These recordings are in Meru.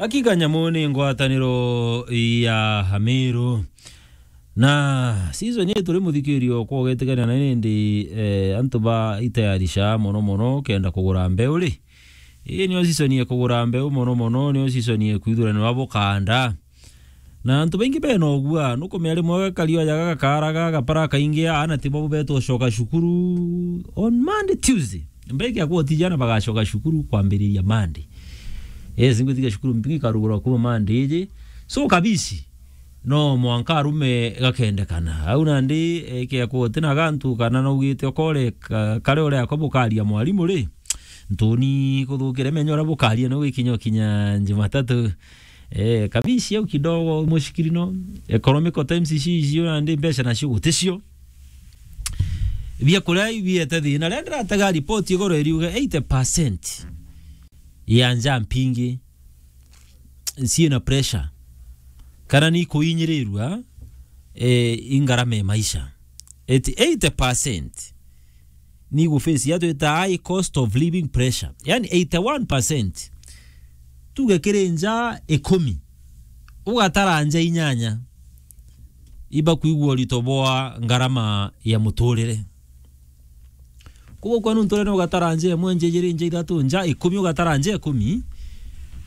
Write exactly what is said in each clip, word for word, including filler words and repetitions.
Hakika nyamu ni ngwataniro ya Amiru. Na season ii turi muthikirio kwa ugetikania na nindi, eh, antu ba itayarisha mono mono kenda kugura mbeu ri. Ii nio season ya kugura mbeu mono mono, nio season ya kwithuranirwa bukanda. Na antu baingi bena ugua, nukumenya rimwe gakario aja gagakaraga, gapara kaingi, aana tibo betwa ucoka cukuru on Monday, Tuesday. Mbeki akwa utijana bagacoka cukuru kwambiriria Monday. Yes, ngwitikia cukuru mpingi karugurwa kuma Monday iji. So kabisi, no mwanka arume gakendekana. Au nandi, eh, ke akwa utina gantu kana naugite okore ka-, kare ore akwa bukaria mwarimu ri. Ntuni kuthukire menyo ura bukaria no gikinya kinya Jumatatu. Eh, kabisi au kidogo mushikirino. Economical times ici icio nandi mbeca nacio guticio. Biakuria ibiete thina. Riria ndiratega report igoro iriuga eighty percent ya nja mpingi ciina pressure. Kana ni kuinyirirua, eh, ingarama ya maisha. Eti eighty percent ni gu face ya twita high cost of living pressure. Yani eighty-one percent. Tuge kiri nja ikumi, ugatara nja inyanya, iba kwigua urito bwa ngarama ya muturire. Koguo kwenu nturene ugatara nja imwe, nja ijiri, nja ithatu, nja ikumi, ugatara nja ikumi,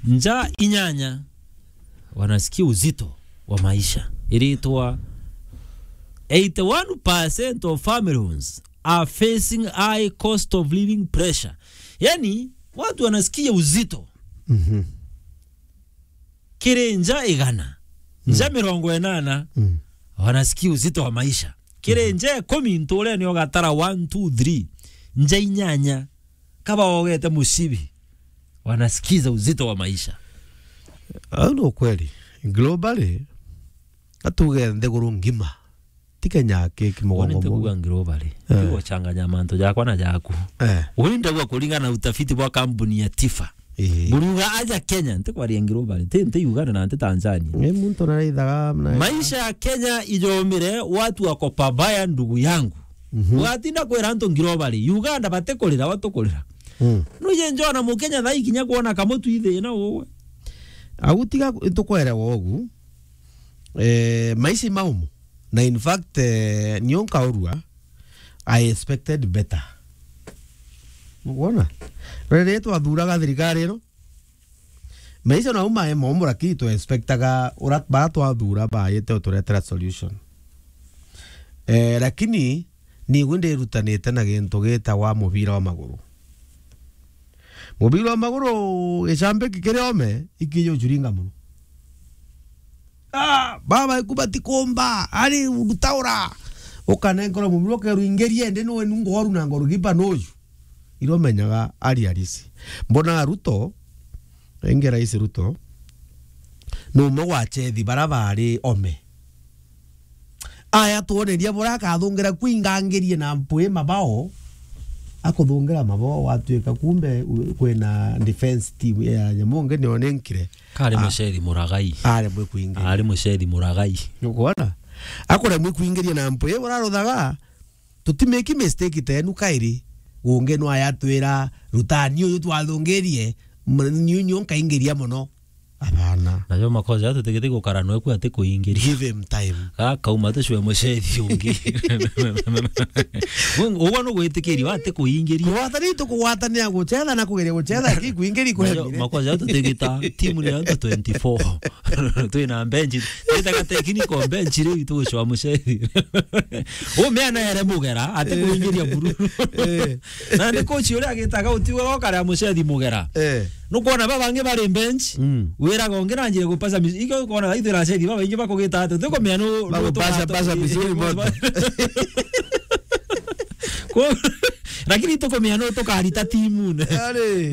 nja inyanya, wanasikia uzito wa maisha. Iritwa eighty-one percent of families are facing high cost of living pressure. Yani, watu wanasikia uzito. Mhm. Kiri nja igana, nja Mm. mirongo inana, Mm. wanasikia uzito wa maisha. Kiri Mhm. nja ikumi nturene ugatara one, two, three, nja inyanya, kaba ogete mucibi, wanasikiza uzito wa maisha. Au ni ukweli. Globally, atuge nthiguru ngima. Ti Kenya ki, ki mugongo. Wone nte kuga ngirobari. Eh. Ti guchanganya mantu jakwa na jaku. Eh. Uri ndagwa kuringana na utafiti bwa kampuni ya Tifa. Eh. Buriuga aja Kenya, nte kwaria ngirobari. Ti, nte Uganda na nte Tanzania. Ni muntu naraithaga na maisha ya Kenya ijomire watu wako pabaya, ndugu yangu. Mhm. Ugatinda kwira antu ngirobari. Uganda batikurira, watukurira. Mm. Nuje njona Mukenya thaa ikinya kuona kamutu ithina uwe. Au tiga ntukwerewa ugu. Eh, maisha maumu. Na in fact, eh, nio nkaurua, I expected better. Nukwona? Riria twathuraga thirikari ino, maisha nau mae momu, lakini twa expectaga ura-, bara twathura baite uturetera solution. Eh, lakini nigwe ndirutanite na gintu gitagwa mubira wa maguru. Mubira wa maguru, gicambi kikiri ome, ikiji ucuringa mono. Ah, baba iku batikumba, ari rutaura. Ukanenkerwa mubira ukeru ingerie, ndi nwe nungu oru na ngoru gipa nuju. Iro menyaga ari arisi. Mbona Ruto, inge rais Ruto, ni umwe gwa chethi bara bari ome. Aya twoneria bura akathungira kwingangirie na mpwi mabao, akuthungira mabao, watwika kumbe u-, kwina defense team ya nyamu ngi nio ninkire. Kari Ah. Muceri Muragai. Ari mwe kwingiria. Ari Muceri Muragai. Nukwona? Akore mwe kwingiria na mpwi, bura ruthaga, tutimeki mistake tenu kairi. Ungi no ayatwira, "Rutani uyu twathungirie, m-, niu nio nkaingiria mono." Abana. Najo makosa ya tutigiti gukara nwe ku ati kuingiria. Give him time. Gakauma tucwe mucethi ungi. Uguo no gwitikiria ati kuingiria. Kugwatania tukugwatania gucetha na kugeria gucetha ki kuingiria. Najo kwemire. Makosa ya tutigita timu ni antu twenty-four. Twina bench. Twitaga technical bench riu tugucwa mucethi. Umeana ere mugera ati Eh. kuingiria bururu. Eh. Na ndi coach uria agitaga utiugaga ukarea mucethi mugera. Eh. Nukwona baba bangi bari bench, Mm. wiraga ungi na njira gupasa mis-, ikio ukona ithu na cethi baba ingi bakugita ati, utikumenya nu-, nu-, Bagupasa, tukatu-, pasa misuri moto. Ko-, lakini tukumenya nu tukarita timu ne. Ari. No